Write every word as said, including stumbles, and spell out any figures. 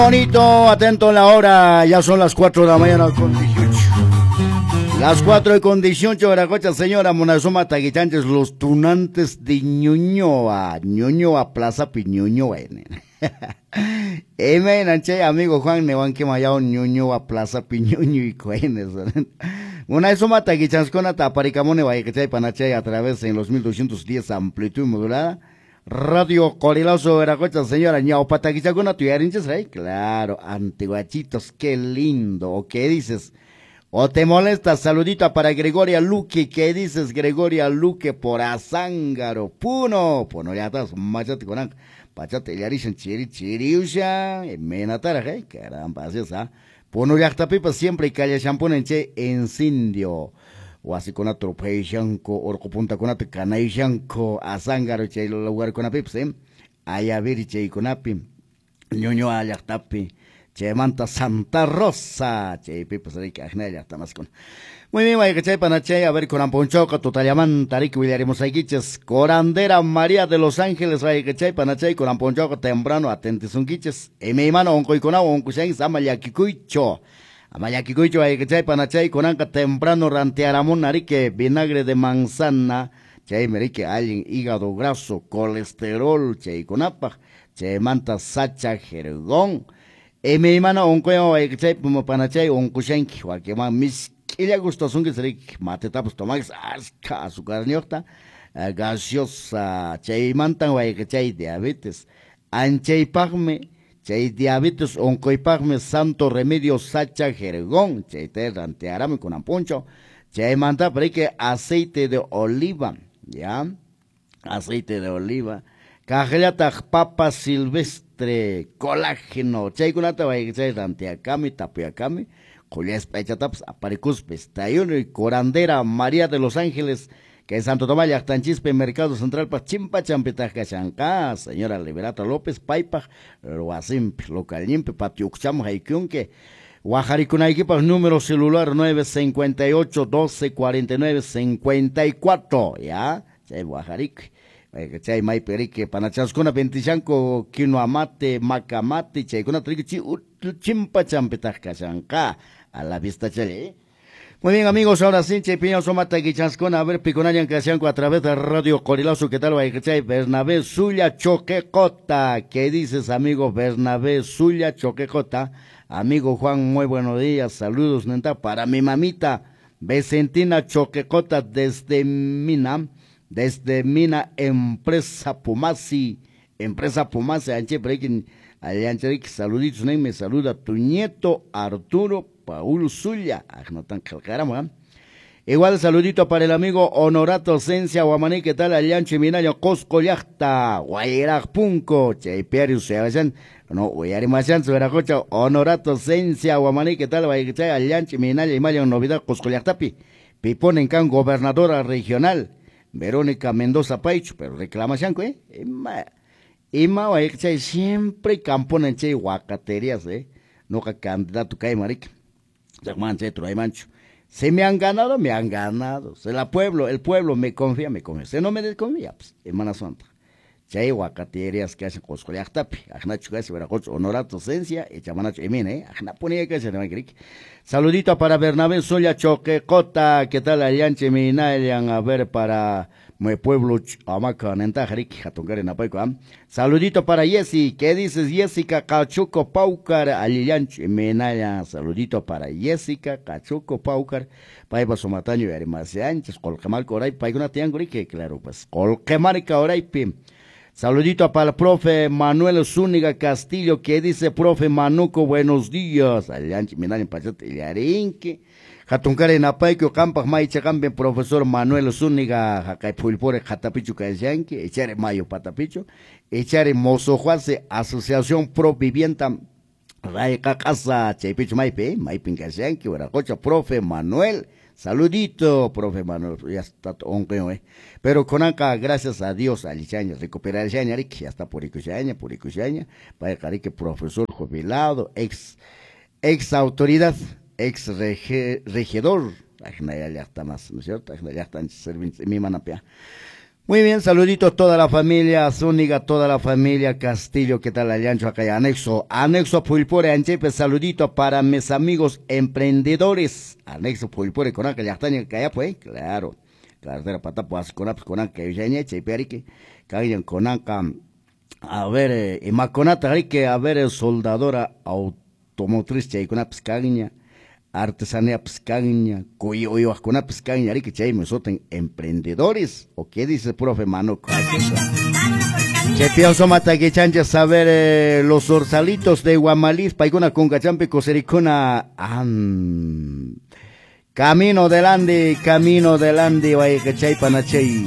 Bonito, atento en la hora, ya son las cuatro de la mañana con dieciocho. Las cuatro y con dieciocho, Veracocha, señora Monazuma Taguichanches, los tunantes de Ñuñoa, Ñuñoa, Plaza Piñuñoa. M. Nanche, amigo Juan Nehuanque Mayao, Ñuñoa, Plaza Piñuño y Cuenes. Monazuma Taguichanscona, Taparicamone, Vallechay, Panachay, a través en los mil doscientos diez, amplitud modulada. Radio Corilazo, Veracocha, señora, Ñaupataquichacuna, tuyarinches, ¿eh? Claro, antiguachitos, qué lindo. ¿O qué dices? ¿O te molesta? Saludita para Gregoria Luque, ¿qué dices, Gregoria Luque? Por Azángaro, Puno, Puno, ya estás, machate con pachate, yarishan, chiri, chiriusha, menatara, ¿eh? Caramba, así es, ¿ah? Puno, yachtapipa, siempre y calle champunen, che, incendio. Huasikunata truphayshanku, urqupuntakunata kanayshanku, Azángaro chay lugarkunapipas, eh? Ayaviri chaykunapi, Ñuñoa llaqtapi, chaymanta Santa Rosa, chaypipas riki aqnay llaqtamaskuna. Muy bien, wayqichay panachay, a ver, kunan punchawqa tutallamanta riki willarimosaykichis, Corandera María de los Ángeles, wayqichay panachay, kunan punchawqa temprano atentisunkichis, imaymana unquykunawan unqushanchis, ama llakikuychu. Amayakikuychu wayqichay panachay, kunanqa temprano rantearamun riki vinagre de manzana, chaymi riki allin hígado graso, colesterol chaykunapaq, chaymanta sacha jergón. Imaymana unquywan wayqichay panachay unqushanki, wakinman misk'illa gustasunki riki matetapas tomanki askha azucarniyuqta, gaseosa, chaymantan wayqichay diabetes. Anchaypaqmi chay diabetes unquypaqmi santo remedio sacha jergón, chayta rantearami kunan punchaw, chaymanta riki aceite de oliva, ya, aceite de oliva, kaqllataq papa silvestre, colágeno, chaykunata wayqichay ranteakami, tapuyakami, qullaspa aychatapas aparikuspa, estayuni Corandera María de los Ángeles, que Santo Tomás llaqtanchispi Mercado Central pa chimpachanpitaq kashanqa, señora Liberata López paypaq wasinpi localninpi patio ukchaman haykunki, wajarikunaykipaq número celular nueve cincuenta y ocho, doce, cuarenta y nueve, cincuenta y cuatro, ya, chay wajarikuy, chay maypi riki panachaskuna ventishanku quinoa mate, maca mate, chaykunata riki chimpachanpitaq kashanqa, a la vista chay. Muy bien, amigos, ahora sí, Chepiño, Somata, Guichanscona, a ver, Piconayan, Casianco, a través de Radio Corilazo, ¿qué tal, Guayquechay? Bernabé Zulia Choquecota, ¿qué dices, amigo Bernabé Zulia Choquecota? Amigo Juan, muy buenos días, saludos, neta, para mi mamita, Vicentina Choquecota, desde Mina, desde Mina, Empresa Pumasi, Empresa Pumasi, anche, breaking, anche, saluditos, ne, me saluda tu nieto Arturo Paul Zulia, ajnatan qalqaramu. Igual saludito para el amigo Honorato Cencia Guamaní, ¿qué tal? Allancho y Minayo, Cosco Llaqta, Guayraj Punco, Chaypiari Useabayan, no, Uyarimayan, Sueracocha, Honorato Cencia Guamaní, ¿qué tal? Guaychay, Allancho y Minayo, y Mayo, novedad, Cosco Llaqtapi, Piponen can gobernadora regional, Verónica Mendoza Paichu, pero reclamación, ¿eh? Ima, ima, Guaychay, siempre camponen, chay, guacaterías, ¿eh? Nunca candidato cae, marica. Si me han ganado, me han ganado. Se la pueblo, el pueblo me confía, me confía. Si no me desconfía, pues, hermana santa. Chay guacaterías que hacen Cosco llaqtapi, ajnachu kasi Veracocha, Honorato Cencia, echamanachu emina, eh, ajnapunía que se Saludito para Bernabé Zulia Choquecota, ¿qué tal allanche minayan? A ver, para mi pueblo Amaca, nentajarik, jatunkari napayco, ¿ah? Saludito para Jessy, ¿qué dices, Jessica Cachuco Paucar? Alillanche minaya, saludito para Jessica Cachuco Paucar, paypa sumataño y arimaseanches, Colquemarca oraypi, paykuna tiyankurique, claro, pues, Colquemarca oraypi. Saludito para el profe Manuel Zúñiga Castillo, que dice, profe Manuco, buenos días. Allanche minaya, pachate, illarinki. Jatunkari napayku, qampaq maychaqampi, profesor Manuel Zúñiga, jaqay phulpuri qhatapichu kashanki, echari mayo patapichu, echari Mozojuase, Asociación Pro Vivienda, Rayqaqasa, chaypichu maypi, maypin kashanki, wiraqucha, profe Manuel. Saludito, profe Manuel, ya está onquen, eh. Pero konanqa, gracias a Dios, allichaña, recuperarchaña, riki, ya está purikushaña, purikushaña, payqa riki profesor jubilado, ex, ex autoridad, ex rege, regidor, ajnaya llaqta más, ¿no es cierto? Ajnaya llaqta ancha servinchis, mimanapia. Muy bien, saluditos a toda la familia Zúñiga, toda la familia Castillo, ¿qué tal? Allancho, acá hay anexo, anexo Pulpore, Anchepe, saludito para mis amigos emprendedores. Anexo Pulpore, con acá, llaqtaña, pues, claro. Carretera patapo, asconaps, con acá, chaypi, kayan con acá. A ver, eh, imakunata, arique, a ver, soldadora automotriz, chaykunapis kanña. Artesanía piscaña, uywaqkunapis kanña, arique chaymi sutin emprendedores, o qué dice profe Manuco. Chaypiwan sumaq takichanchik saber eh, los zorzalitos de Guamaliz, paykuna kunkachampi kusirikuna, an. Camino del Ande, camino del Ande, wayqichay panachay.